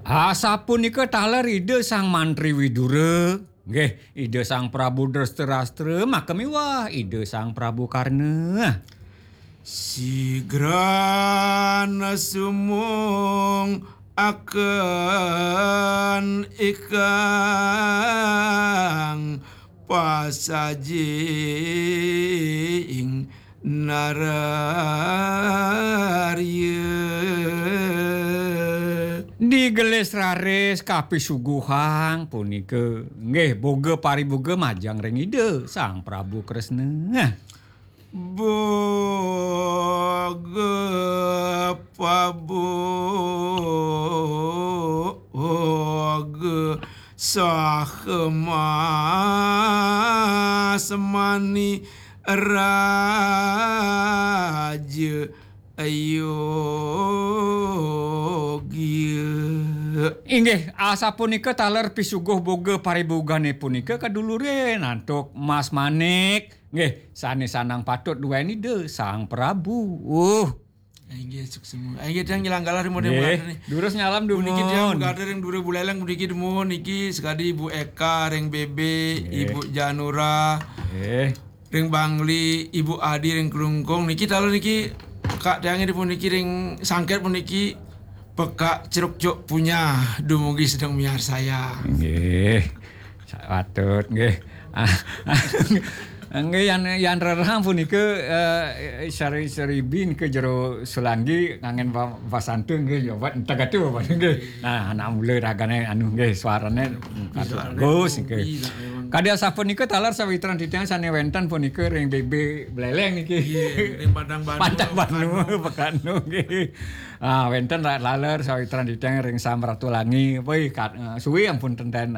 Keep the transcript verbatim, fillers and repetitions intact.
Asapunika taler Ida Sang Mantri Widura. Nggih, Ida Sang Prabu Drestadrastra maka miwah Ida Sang Prabu Karna. Sigrana sumung aken ikang pasajing nararya. Digelis raris kapisuguhang punika, nggih, boga pariboga majeng ring Ida Sang Prabu Kresna. Boga paboga saha masmani raja yogia. Inggih, asapunika taler pisuguh boga paribogane punika kadulurin antuk Mas Manik. Nggih, sane sanang patut duweni Ida Sang Prabu. Uh. Inggih, suksma. Inggih, tiang ngilang galah ring Mode Nggih, Mugada nih. Durus nyalam dumun. Puniki tiang Mugada ring Dure Buleleng puniki dumun niki sekadi Ibu Eka ring B B, Nggih. Ibu Janura. Nggih. Ring Bangli, Ibu Adi ring Klungkung. Niki taler niki Kak tiang puniki ring Sangket puniki Pekak Ceruk Cuk Punya dumugi sedeng miarsayang. Nggih. Patut nggih. Ah, nggih, yan, yan rerehang punika, eh, sari-, saribin ke jero Sulanggi ngangen ba-, basanta nggih, ya, buat enteg atu, Bapak, nggih. Nah, anak mula ragane anu nggih, suarane, mm, patut suarane bagus nggih. Kopi, nak memang. Kadi asapunika taler sawitran titiang sane wenten punika ring B B Buleleng niki. Nggih, ring Padang Banu, Padang Banu, Pekanu. Pekanu nggih. Ah, wenten ra-, taler sawitran titiang ring Samratulangi. Woi, kat-, eh, suwi ampun tenten